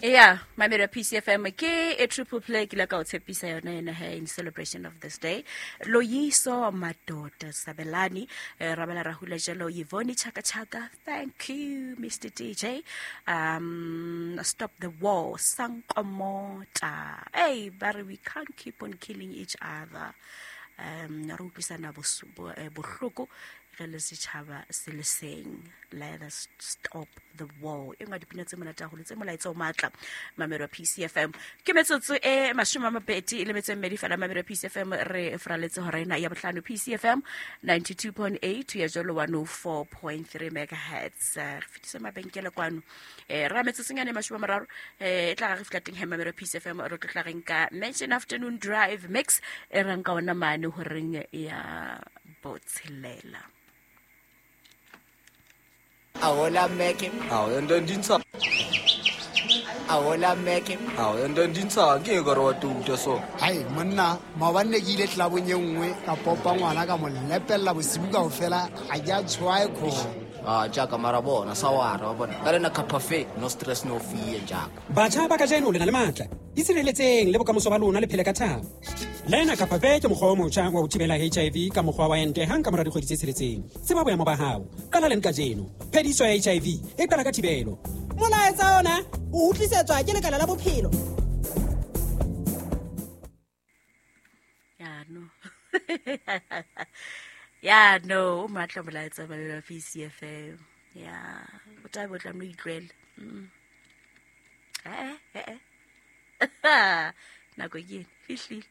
Yeah, mamelo PCFM ke e triple play ke la ka o tshepisa yona ena he in celebration of this day. Loyiso Madoda Sabelani, Rabela Rahula Jalo, Yvonne Chaka Chaka, thank you Mr. DJ. Stop the war, Sankomota. Hey, Barry, we can't keep on killing each other. Re utlwisana bohloko re le setjhaba se le seng. Let us stop the war. E nngwe ya dipina tse monate haholo tse molaetsa o matla, mamelo PCFM. Ke metsotso e 20 le metso e mmedi fela, mamelo PCFM. Re fraletse hora ena ya bohlano, PCFM 92.8 ya jalo 104.3 megahertz. Re fetise mabenkele kwano, ra metsotsonyane 30, e tla re fihla teng he, mamelo PCFM. Re tlo tla reng ka mention afternoon drive mix e rang ka ona mane horeng ya botshelela. Ahola meke. Awu, ento ndintsha. Ahola meke. Awu, ento ndintsha ke ka re wa tuta so. Hai monna, maobane ne ke ile tlelabong e nngwe, ka popa ngwana, ka mo lepella bosibu kaofela, ga ke a tshwae kgomo. Ah, jaaka mara bona sawara wa bona ka lena cafe, no stress, no fear jaaka. Batjha ba kajeno le na le matla, itshireletseng le bokamoso ba lona, le phele ka thabo. Lena Capafe ke mokgwa o motjha wa ho thibela HIV ka mokgwa wa ente hang ka mora dikgwedi tse 6. Tseba boemo ba hao, qala leng kajeno. Phediso ya HIV e qala ka thibelo. Molaetsa ona o utlwisetswa ke lekala la bophelo. Ya no, ya no, o matla molaetsa, mamelo PCFM. Ya o tla bo tla mo itlwele. Eh eh eh, nako ke ene fihlile.